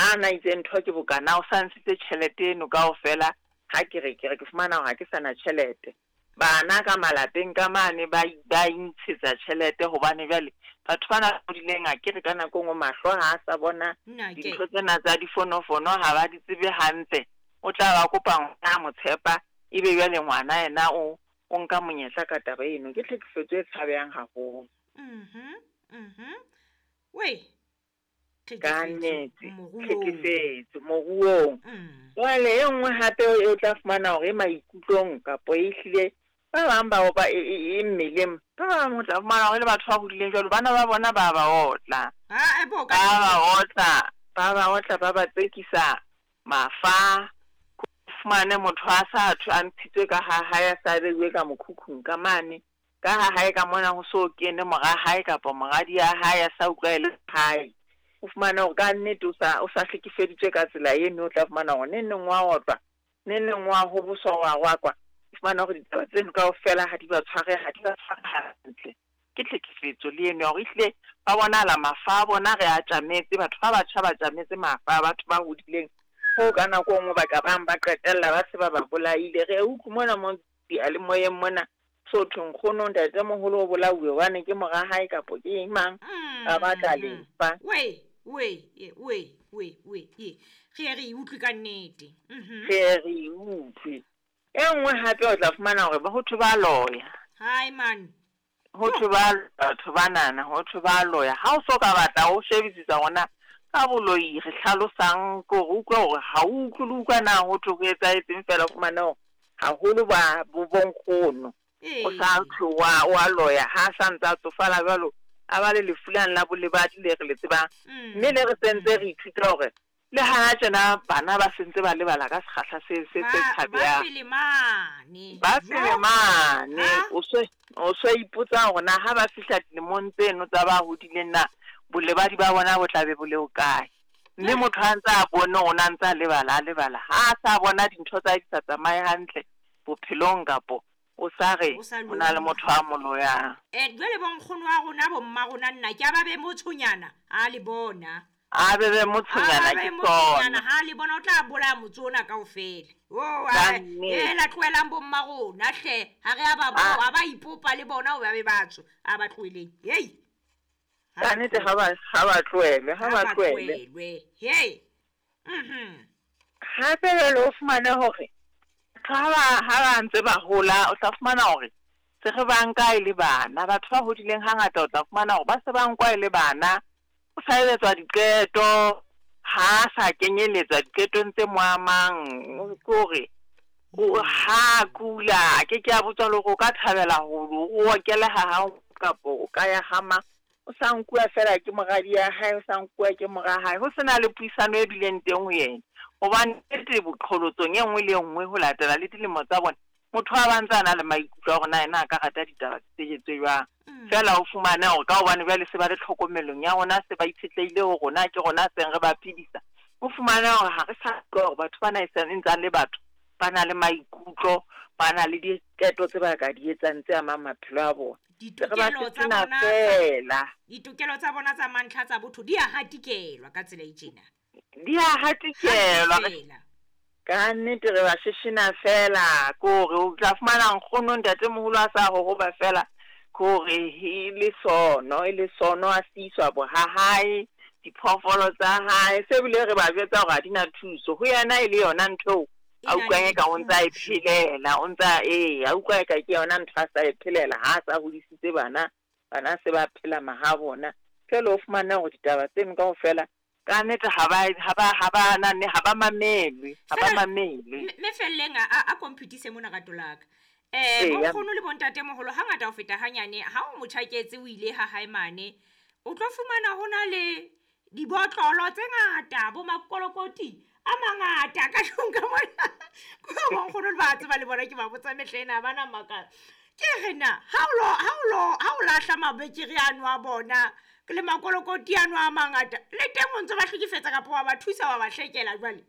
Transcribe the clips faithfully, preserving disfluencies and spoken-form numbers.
Ha na itse ntho ke bokana o sa ntshitse tjhelete eno kaofela, ha ke re ke re ke fumana hore ha ke sana tjhelete. Bana ka malapeng ka mane ba ba intshetsa tjhelete hobane jwale batho bana hodileng a ke re ka nako nngwe mahlo ha a sa bona dintho tsena tsa difonofono ha ba di tsebe hantle. O tla ba kopa ngwana a mo tshepa, ebe jwale ngwana yena o o nka monyetla ka taba eno. Ke tlhekefetso e tshabehang haholo. Mhm, mhm. Wei. Ka nnete, tlhekefetso moruong. Jwale e nngwe hape o tla fumana hore e maikutlong kapo e hlile ba bang ba opa e mmeleng, ba bang o tla fumana hore le batho ba hodileng jwalo bana ba bona ba ba otla. Ba ba otla, ba ba otla, ba ba tsekisa mafa. Fumane motho a sa thwe a ntshitswe ka ha hae, a sa beuwe ka mokhukhung ka mane. Ka ha hae ka mona ho so kene mora hae kapa moradi ya hae a sa utlwa e le hae. O fumana hore ka nnete o sa o sa hlekefeditswe ka tsela eno, o tla fumana hore neng neng wa otlwa, neng neng wa hoboswa, wa rwakwa. O fumana hore ditaba tseno kaofela ha di ba tshware, ha di ba tshware hantle. Ke tlhekefetso le eno ya hore ehlile ba bonahala mafa a bona re a tjametse, batho ba batjha ba tjametse mafa a batho ba hodileng. Hoo ka nako e nngwe ba ka bang ba qetella ba se ba ba bolaile. Re utlwe mona mo diyalemoyeng mona so thwe nkgono ntatemoholo o bolauwe hobane ke mora hae kapo ke eng mang, ba batla lefa. Wei, wei, wei, wei, wei, ye. Re ye re e utlwe ka nnete. Mhm. Re ye re e utlwe. E nngwe hape o tla fumana hore ho thwe ba loya. Hai man. Ho thwe ba batho banana, ho thwe ba loya. Ha o so ka batla o shebisisa hore ka boloi re hlalosang ke hore utlwe hore ha o utlwe le utlwa na ho thwe ho etsahetseng fela, o fumane hore haholo ba bo bonkgono. O sa thwe wa wa loya ha sa ntse a tsofala jwalo, a ba le lefu lane la bolebadi le re le tsebang. Mme le re sentse re ithuta hore le hana tjena bana ba sentse ba lebala ka sekgahla se se se tshabehang. Ba pele mane. Ba pele mane. O se o se ipotsa hore na ha ba fihla dilemong tseno tsa ba hodileng na bolebadi ba bona bo tla be bo le hokae. Mme motho ha ntse a bone hore na ntse a lebala, a lebala. Ha a sa bona dintho tsa hae di sa tsamaye hantle bophelong kapo o sa re o na le motho a mo loyang. Eh, jwale bo nkgono wa rona bo mma rona nna ke a ba be motshonyana ha le bona. A be be motshonyana ke tsona. Ha le bona o tla bolaya motse ona kaofela. Oh, eh la tlohelang bo mma rona hle, ha re a ba bo, ha ba ipopa le bona o ba be batho, a ba tlohelleng. Hei. Ka nnete ha ba ha ba tlohele, ha ba tlohele. Hei. Mhm. Hape jwale o fumane hore ha ba ha ba ntse ba hola, o tla fumana hore se re ba nka e le bana. Batho ba hodileng hangata o tla fumana hore ba se ba nkwa e le bana. O sa etswa diqeto, ha sa kenyeletswa diqetong tse mo amang. Ke hore o ha kula, ke ke a botswa le hore o ka thabela ho o okela ha hao kapo o ka ya hama. O sa nkuwa fela ke moradi ya hae, o sa nkuwa ke mora hae. Ho sena le puisano e bileng teng ho yena. Hobane nnete boqholotsong e nngwe le e nngwe ho latela le dilemo tsa bona, motho a ba ntse a na le maikutlo a hore na yena a ka rata ditaba tse tse jwang. Fela o fumane hore ka hobane jwale se ba le tlhokomelong ya rona, se ba itshetlehile ho rona, ke rona seng re ba phedisa. O fumane hore ha re sa utlwa hore batho bana e ntse le batho, ba na le maikutlo, ba na le diqeto tse ba ka di etsang tse amang maphelo a bona. Ditokelo tsa bona fela. Ditokelo tsa bona tsa mantlha tsa botho di a hatikelwa ka tsela e tjena. Di a hatikelwa. Ka nnete re ba sheshena fela, ke hore o tla fumana nkgono ntatemoholo a sa hohoba fela, ke hore e le sono, e le sono a siswa bo ha hae, diphoofolo tsa hae, se bile re ba jwetsa hore ha di na thuso. Ho yena e le yona ntho eo a utlwang eka o ntsa e phelela, o ntsa e a utlwa eka ke yona ntho a sa e phelela ha a sa hodisitse bana, bana se ba phela maha bona. Jwale o fumana hore ditaba tseno kaofela ka nnete ha ba ha ba ha ba nane ha ba mamelwe, ha ba mamelwe. Me felleng a a computise mona rato la ka. Eh bonkgono le bontatemoholo hangata ho feta hanyane ha o motjhaketse o ile ha hae mane, o tlo fumana hona le dibotlolo tse ngata bo makolokoti a mangata ka tlung ka mona. Ko bonkgono le ba tseba le bona ke ba botsa mehle ena ba na makala. Ke re na ha o lo ha o lo ha o lahla mabekere ano a bona le makolokoti ano a mangata le teng o ntse ba hlekefetsa kapa wa ba thusa wa ba hlekela jwale.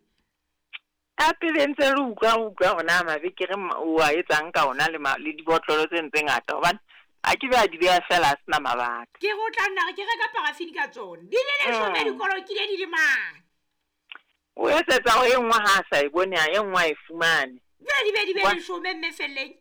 Ka pele ntse re utlwa utlwa hore na mabekere o a etsang ka ona le le dibotlolo tse ntse ngata hobane a ke ba di beha fela a sena mabaka. Ke go tla nna ke reka parafini ka tsona. Di le leshome dikolokile di le mane. O etsetsa hore e nngwe ha a sa e bone, e nngwe a e fumane. Jwale di be di be leshome mme felleng.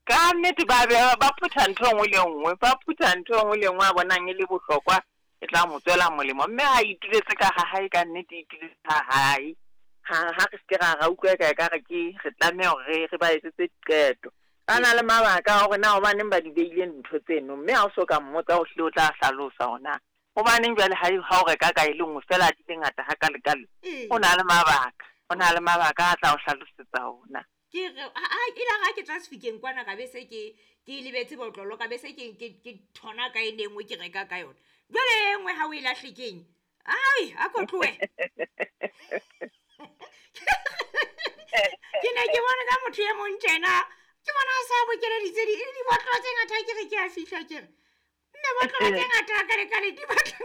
Ka nnete ba be ba phutha ntho e nngwe le nngwe, ba phutha ntho e nngwe le nngwe a bonang e le bohlokwa e tla mo tswela molemo. Mme ha ituletse ka ha hae, ka nnete ituletse ha hae. Ha ha re se ra ra utlwa ka ekare ke re tlameha hore re ba etsetse diqeto. Ba na le mabaka a hore na hobaneng ba di beile ntho tseno, mme ha o so ka mmotsa o hlile o tla hlalosa hore na hobaneng jwale ha ha o reka ka e le nngwe fela di le ngata hakalekale. O na le mabaka, o na le mabaka a tla o hlalosetsa ona. Ke re ha e la ga ke tla sefikeng kwana ka be se ke ke lebetse botlolo, ka be se ke ke ke thona ka e nngwe ke reka ka yona. Jwale e nngwe ha o e lahle keng? Ai, a ko tlohe. Ke ne ke bone ka motho e mong tjena, ke bona a sa bokeleditse di dibotlolo tse ngata, ke re ke a fihla ke re mme botlolo tse ngata ka le ka le di batla.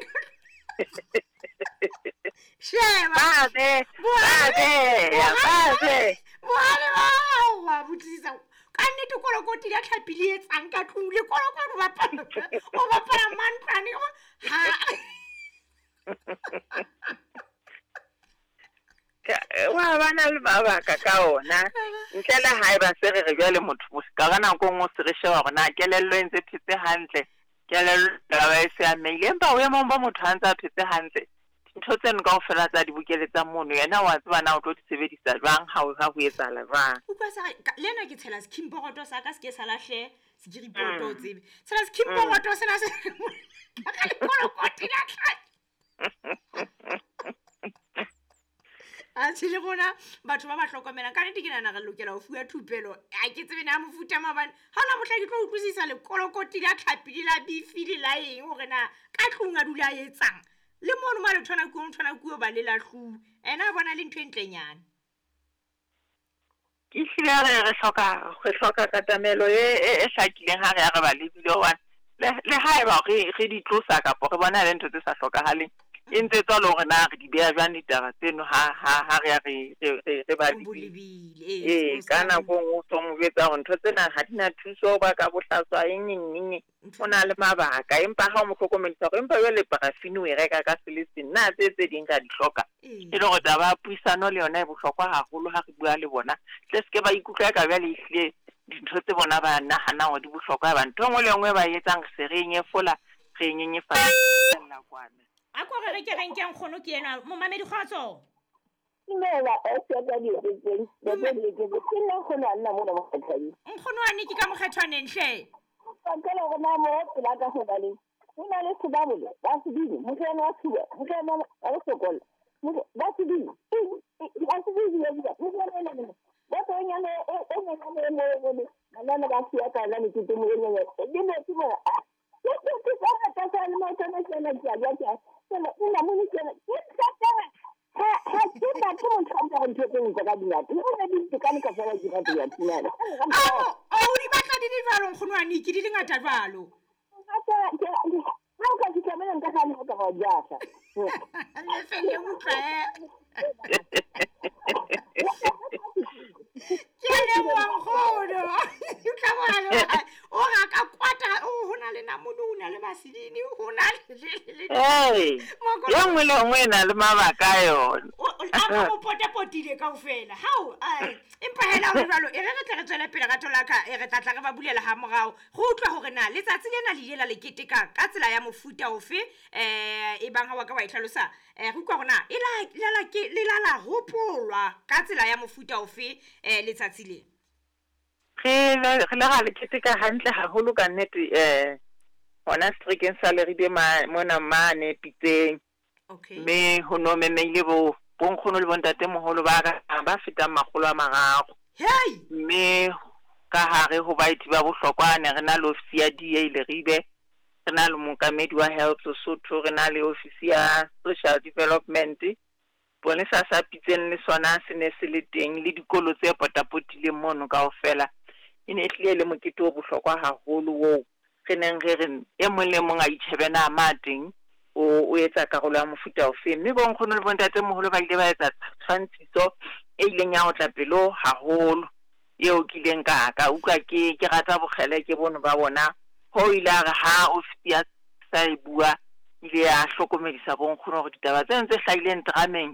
Sheba. Ba be, ba be, ba be. Bohale ba wa botsisa. Ka nnete kolokoti la tlhapi le etsang ka tlung le kolokoti o bapala o bapala mantlwane ha. Wa ba na le mabaka ka ona. Ntle le hae ba se re re jwale motho ka ka nako nngwe se re sheba hore na kelello e ntse phetse hantle, kelello ba e se ameile, empa boemong ba motho ha ntse a phetse hantle, dintho tseno kaofela tsa di bokeletsang mono, yena wa tseba na o tlo di sebedisa jwang ha ho ha ho etsahala jwang. Utlwa sa le nna ke tshela skimboard sa ka se ke sa lahle sekiripoto o tsebe. Tshela skimboard sena se ka lekolokoti la tlhapi. A tshele rona batho ba ba hlokomelang ka nnete ke nahana re lokela ho fuwa thupelo. A ke tsebe na mofuta maobane ha ona mohla ke tlo utlwisisa lekolokoti la tlhapi le la bifi le la eng hore na ka tlung a dula a etsang. Le mono ma le thona kuo thona kuo ba le lahluwe. Ena a bona le ntho e ntlenyana. Ke hlile re re hloka re hloka katamelo e e hlakileng ha re ya re ba lebile hobane le le haeba re re di tlosa kapa re bona le ntho tse sa hlokahaleng, e ntse tswa le hore na re di beha jwang ditaba tseno ha ha ha re ya re re re ba lebile. Ee, ka nako nngwe o so mo jwetsa hore ntho tsena ha di na thuso, ba ka bohlaswa eng eng eng, o na le mabaka. Empa ha o mo hlokomedisa hore empa jwale parafini o e reka ka se le seng, na tse tse ding ra di hloka. E le hore taba ya puisano le yona e bohlokwa haholo ha re bua le bona, tle se ke ba ikutlwa ka jwale ehlile dintho tse bona ba nahanang hore di bohlokwa, ba ntho e nngwe le e nngwe ba e etsang re se re e nyefola, re e nyenyefatsa kwana. A ko re re ke re nke nkgono ke enwa momamedi kgotso. Dumela, o se ka di etseng, ba ke di ke ke nna nkgono a nna mona mokgethwaneng. Nkgono wa ne ke ka mokgethwaneng hle. Ka le hore na mo pela ka hobaneng. Ho na le sebabole, ba sebini, moriana wa tshuba, moriana wa bosokola. Ba sebini, ba sebini ya bua, moriana ena mona. Ba tsonyana e e nyenyane e mo e mo, banana ba siya ka la mekete mo e nyenyane. Di metsi mona. Ke ke ke ka rata sa le motho ne tsena ke a bua ke a tsena nna mo ne tsena ke tsa ha ha ke batho motho a ntse ntho tse ntse ka dingata o ne di tekane ka fela ke batho ya thunana. O o di batla di le jwalo nkgono wa ne ke di le ngata jwalo. Ha o ka fihla mona nka gane go ka go jasa. Le fele utlwa eh. Ke leboha nkgono. Utlwa bohale o ra ka kwata o hona le namune o na le vaseline ho na le le Ee, e nngwe le nngwe e na le mabaka a yona. A mo potapotile kaofela. Hao, empa hela ho jwalo e re re tle re tswele pele ka tholaka e re tla tla re ba bulela ha morao. Re utlwa hore na letsatsi lena le ile la le keteka ka tsela ya mofuta ofe eh e bang ha wa ka wa e hlalosa. Eh re utlwa hore na e la la ke le la la hopolwa ka tsela ya mofuta ofe eh letsatsi le. Re le re le ra le keteka hantle haholo ka nnete eh hona seterekeng sa Leribe mona mane Pitseng. Okay. Mme ho no memeile bo bonkgono le bontatemoholo ba ka ba fetang makgolo a mararo. Hey! Mme ka hare ho baeti ba bohlokwa ne re na le ofisi ya D A Leribe, re na le mookamedi wa Health Lesotho, re na le ofisi ya Social Development. Ponesa sa Pitseng le sona se ne se le teng le dikolo tse potapotileng mono kaofela. E ne e hlile le mokete o bohlokwa haholo oo re neng re re e mong le mong a itjhebe na ma teng o o etsa karolo ya mofuta ofe. Mme bonkgono le bontatemoholo ba ile ba etsa tshwantshiso e ileng ya otla pelo haholo eo ke ileng ka ka utlwa ke ke rata bokgele ke bono ba bona. Ho ile a re ha ofisi ya sa e bua ile ya hlokomedisa bonkgono hore ditaba tseno tse hlahileng drameng